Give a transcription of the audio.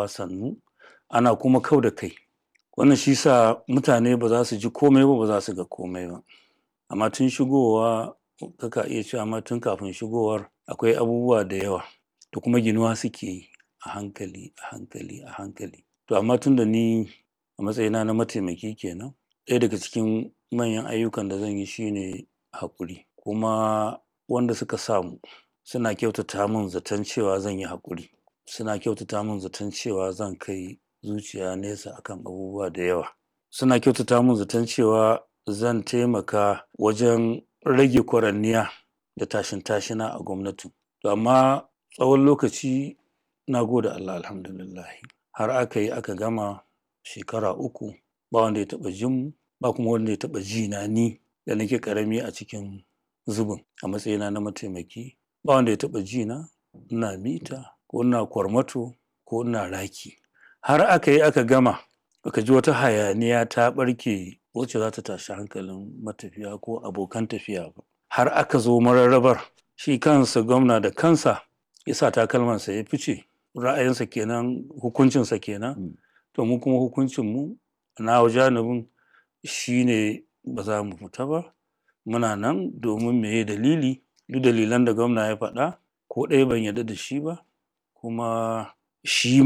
Sannu ana kuma kau da kai. Wannan shi sa mutane ba za su ji komai ba, ba za su ga komai ba. Amma tun shigowa kaka iya cewa ma tun kafin shigowar akwai abubuwa da yawa da kuma ginuwa suke yi a hankali, a hankali, a hankali. To amma tun da ni a matsayina na mataimaki kenan, ɗaya daga cikin manyan ayyukan da zan yi shine haƙuri. Kuma wanda suka samu suna kyautata mun zaton cewa zan yi haƙuri. Suna kyautata mun zaton cewa zan kai zuciya nesa akan abubuwa da yawa. Suna kyautata mun zaton cewa zan taimaka wajen rage kwaranniya da tashin-tashina a gwamnatin. To amma tsawon lokaci na gode Allah Alhamdulillah har aka yi aka gama shekara 3 ba wanda ya taɓa jin mu, ba kuma wanda ya taɓa ji na ni da nake ƙarami a cikin zubin a matsayina na mataimaki. Ba wanda ya taɓa ji na ina mita ko ina kwarmato ko ina raki. Har aka yi aka gama baka ji wata hayaniya ta ɓarke wacce za ta tashi hankalin matafiya ko abokan tafiya ba. Har aka zo mararrabar shi kansa gwamna da kansa ya sa takalmansa ya fice. Ra'ayinsa kenan, hukuncinsa kenan. To mu kuma hukuncinmu nawa janibin shine ba za mu fita ba. Muna nan domin meye dalili? Duk dalilan da gwamna ya faɗa ko ɗaya ban yarda da shi ba. Kuma shi